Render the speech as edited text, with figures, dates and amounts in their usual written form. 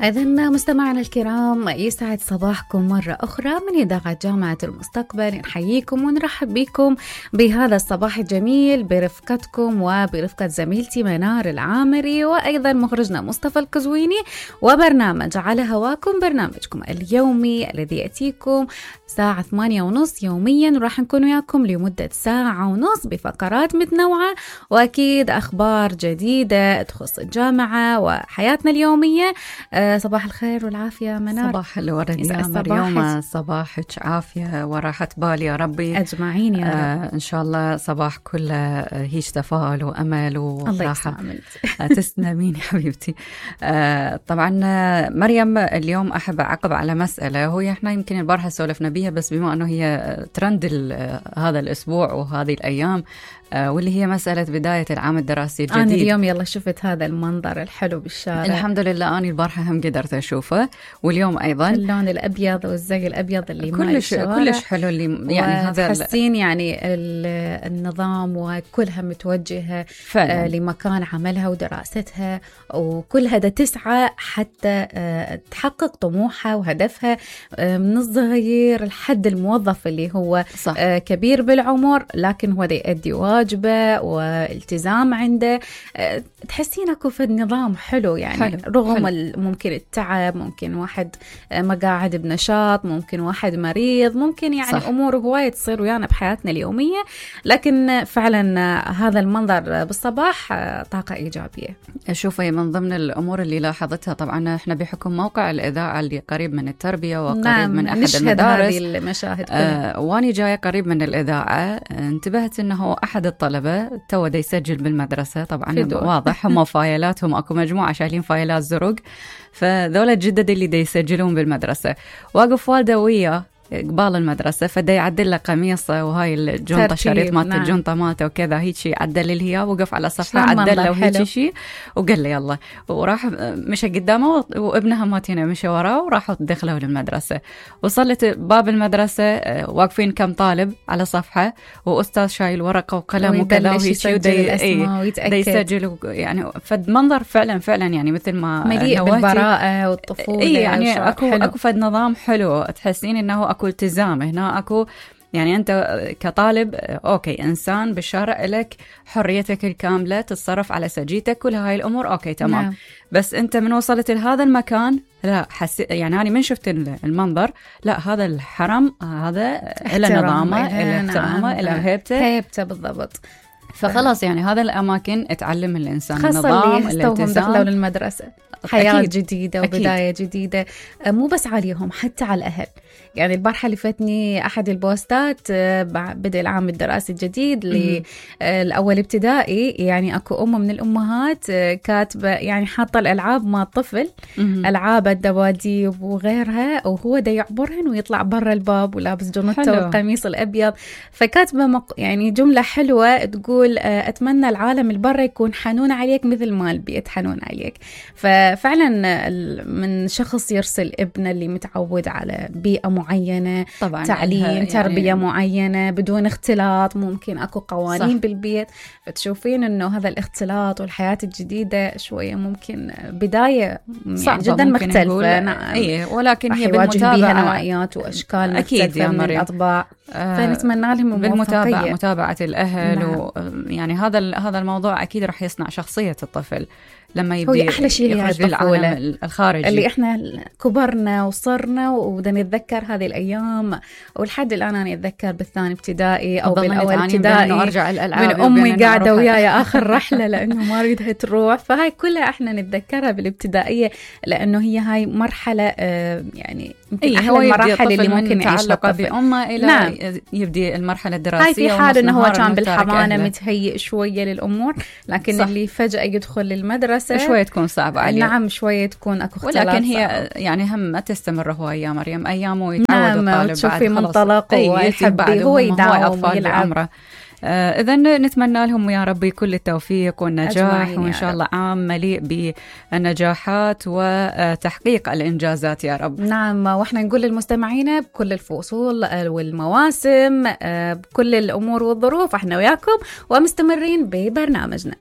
إذا مستمعنا الكرام، يسعد صباحكم مرة أخرى من إذاعة جامعة المستقبل. نحييكم ونرحب بكم بهذا الصباح الجميل برفقتكم وبرفقة زميلتي منار العامري، وأيضا مخرجنا مصطفى القزويني، وبرنامج على هواكم، برنامجكم اليومي الذي يأتيكم الساعة 8:30 يوميا، وراح نكون وياكم لمدة ساعة ونص بفقرات متنوعة، وأكيد أخبار جديدة تخص الجامعة وحياتنا اليومية. صباح الخير والعافية منار. صباح الورد يا مريم، صباحك عافية وراحة بال يا ربي أجمعين يا رب. إن شاء الله صباح كله هيج تفاؤل وأمل وراحة. تسلمين يا حبيبتي. طبعا مريم، اليوم أحب أعقب على مسألة، هو احنا يمكن البارحة سولفنا بيها، بس بما أنه هي ترند هذا الأسبوع وهذه الأيام، واللي هي مسألة بداية العام الدراسي الجديد. أنا اليوم يلا شفت هذا المنظر الحلو بالشارع، الحمد لله. أنا البارحة هم قدرت أشوفه، واليوم أيضا اللون الأبيض والزي الأبيض اللي كلش حلو، اللي يعني هذا تحسين يعني النظام وكلها متوجهة لمكان عملها ودراستها، وكلها دا تسعى حتى تحقق طموحها وهدفها من الصغير لحد الموظف اللي هو صح. كبير بالعمر، لكن هو دا يؤدي واجبه والتزام عنده. تحسين اكو في النظام حلو يعني حلو. رغم حلو. ممكن التعب، ممكن واحد ما قاعد بنشاط، ممكن واحد مريض، ممكن يعني صح. امور هوايه تصير ويانا بحياتنا اليوميه، لكن فعلا هذا المنظر بالصباح طاقه ايجابيه. شوفي، من ضمن الامور اللي لاحظتها، طبعا احنا بحكم موقع الاذاعه اللي قريب من التربيه وقريب نعم. من احد المدارس، هذه المشاهد واني جايه قريب من الاذاعه، انتبهت انه احد الطلبه تو دا يسجل بالمدرسه. طبعا واضح هم فايلاتهم اكو مجموعه شايلين فايلات زرق، فذولا الجدد اللي دا يسجلون بالمدرسه، واقف والده وياه قبال المدرسة، فدا يعدل له قميصه وهاي الجنطة، شريط مالت نعم. الجنطة مالته وكذا، هيك شيء عدل الهياب، وقف على صفحة عدل له وهيك شيء، وقال له يلا، وراح مشى قدامه وابنها ماتينا مشى وراه، وراحوا دخلوا للمدرسة. وصلت باب المدرسة، واقفين كم طالب على صفحة، وأستاذ شايل ورقة وقلم وكذا، وهيك ويتأكد يسجل يعني. فد منظر فعلا يعني مثل ما مليء بالبراءة والطفولة. يعني اكو فد نظام حلو، تحسين انه اكو التزام هنا، اكو يعني انت كطالب اوكي انسان بالشارع لك حريتك الكامله، تتصرف على سجيتك، كل هاي الامور اوكي تمام نعم. بس انت من وصلت لهذا المكان، لا يعني انا من شفت المنظر، لا هذا الحرم هذا له نظامه، له احترامه، له هيبته بالضبط. فخلاص يعني هذا الأماكن اتعلم الإنسان النظام، الالتزام، دخلوا للمدرسة، حياة أكيد. جديدة وبداية أكيد. جديدة، مو بس عليهم حتى على الأهل. يعني البارحة اللي فاتني أحد البوستات بدأ العام الدراسي الجديد للأول ابتدائي، يعني أكو أم من الأمهات كاتبة يعني حاطة الألعاب مع الطفل، ألعاب الدباديب وغيرها، وهو دا يعبرهن ويطلع برا الباب ولابس جنطته والقميص الأبيض. فكاتبة يعني جملة حلوة تقول أتمنى العالم البرا يكون حنون عليك مثل ما البيت حنون عليك. ففعلا من شخص يرسل ابنه اللي متعود على بيئة معينة، طبعا تعليم يعني تربية معينة بدون اختلاط، ممكن أكو قوانين صح. بالبيت، فتشوفين أنه هذا الاختلاط والحياة الجديدة شوية ممكن بداية يعني جدا مختلفة. نعم إيه، ولكن هي بالمتابعة نوعيات وأشكال مختلفة من الأطباع، فنتمنى لهم الموفقية. متابعة الأهل نعم. يعني هذا الموضوع أكيد رح يصنع شخصية الطفل لما يبدي أحلى شيء يخرج للعالم الخارجي، اللي إحنا كبرنا وصرنا وبدنا نتذكر هذه الأيام. ولحد الآن أنا أتذكر بالثاني ابتدائي أو بالأول ابتدائي من أمي قاعدة وياي آخر رحلة لأنه ما أريدها تروح. فهاي كلها إحنا نتذكرها بالابتدائية، لأنه هي هاي مرحلة يعني أحلى المراحل اللي ممكن يعيشها الطفل بأمه إلى نعم. يبدي المرحلة الدراسية. هاي في حال إنه هو كان بالحضانة متهيئ شوية للأمور، لكن صح. اللي فجأة يدخل للمدرسة شوية تكون صعبة عليه. نعم شوية تكون أكو اختلاف، ولكن هي يعني هم ما تستمر هو يا مريم أيام ويتعود نعم. الطالب تشوفي منطلق ويحب هو يداوم ويلعب. إذن نتمنى لهم يا ربي كل التوفيق والنجاح، وإن شاء الله عام مليء بالنجاحات وتحقيق الإنجازات يا رب. نعم، وإحنا نقول للمستمعين بكل الفصول والمواسم بكل الأمور والظروف إحنا وياكم ومستمرين ببرنامجنا.